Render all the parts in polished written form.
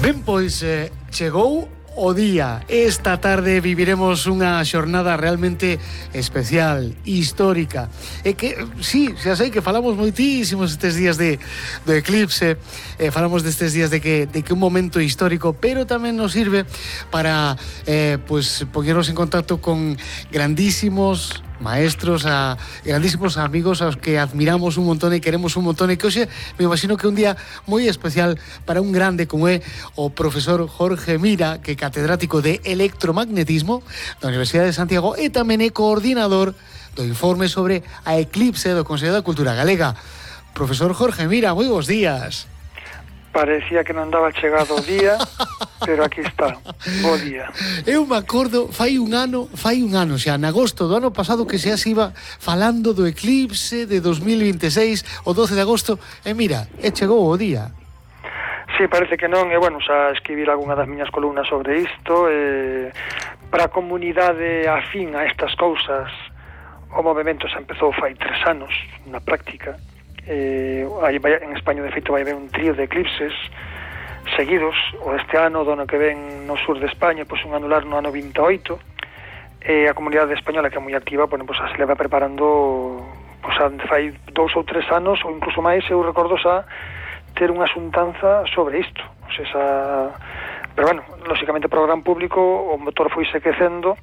Ben, pois chegou o día. Esta tarde viviremos unha xornada realmente especial, histórica. E que, sí, xa sei que falamos moitísimos estes días do eclipse, falamos destes días de que un momento histórico, pero tamén nos sirve para pues poñernos en contacto con grandísimos maestros, a grandísimos amigos aos que admiramos un montón e queremos un montón, e que hoxe me imagino que un día moi especial para un grande como é o profesor Jorge Mira, que é catedrático de electromagnetismo da Universidade de Santiago e tamén é coordinador do informe sobre a eclipse do Consello da Cultura Galega. Profesor Jorge Mira, moi bons días. Parecía que non daba chegado o día, pero aquí está, bo día. Eu me acordo, fai un ano xa, en agosto do ano pasado, que xa se iba falando do eclipse de 2026, o 12 de agosto, e mira, chegou o día. Sí, parece que non, e bueno, xa escribir algunha das miñas columnas sobre isto, para a comunidade afín a estas cousas, o movimento xa empezou fai 3 anos, na práctica. En España de feito vai haber un trío de eclipses seguidos, o este ano, do ano que ven no sur de España, pois un anular no ano 28, e a comunidade española, que é moi activa, pois se leva preparando, pois fai 2 ou 3 anos, ou incluso máis, eu recordo xa ter unha xuntanza sobre isto, o sea, pero bueno, lóxicamente para o gran público o motor foi se quecendo,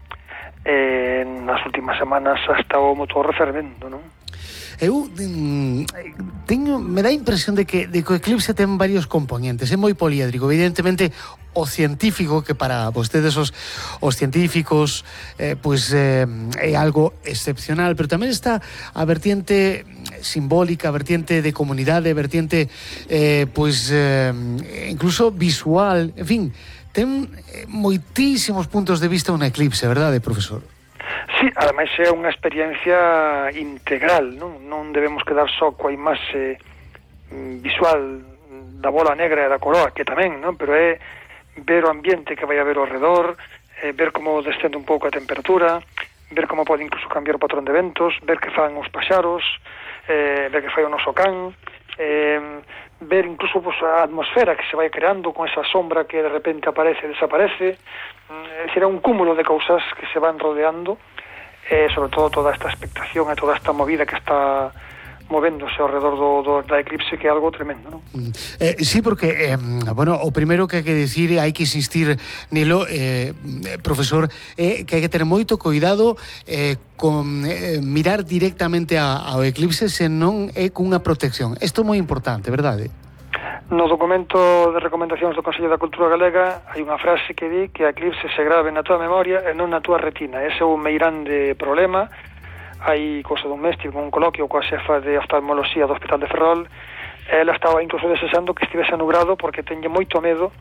nas últimas semanas hasta o motor fervendo, non? Eu me dá a impresión de que o eclipse ten varios componentes, é moi poliédrico. Evidentemente o científico, que para vostedes os científicos é algo excepcional, pero tamén está a vertiente simbólica, a vertiente de comunidade, a vertiente incluso visual, en fin, ten moitísimos puntos de vista un eclipse, verdade, profesor? Sí, ademais é unha experiencia integral, non debemos quedar só coa imaxe visual da bola negra e da coroa, que tamén, non? Pero é ver o ambiente que vai haber ao redor, ver como descende un pouco a temperatura, ver como pode incluso cambiar o patrón de ventos, ver que fan os paxaros, ver que fai o noso can, ver incluso a atmosfera que se vai creando con esa sombra que de repente aparece e desaparece. É dicir, é un cúmulo de cousas que se van rodeando, sobre todo toda esta expectación e toda esta movida que está movéndose ao redor da eclipse, que é algo tremendo, non? Sí, porque, o primeiro que hai que dicir, hai que insistir nilo, profesor, que hai que ter moito cuidado con mirar directamente ao eclipse se non é cunha protección. Isto é moi importante, verdade? No documento de recomendacións do Consello da Cultura Galega hai unha frase que di que a eclipse se grave na túa memoria e non na túa retina. Ese é un meirande problema. Hai cousa dun mes, tive un coloquio coa xefa de oftalmoloxía do Hospital de Ferrol, e ela estaba incluso desexando que estivese nubrado porque teñe moito medo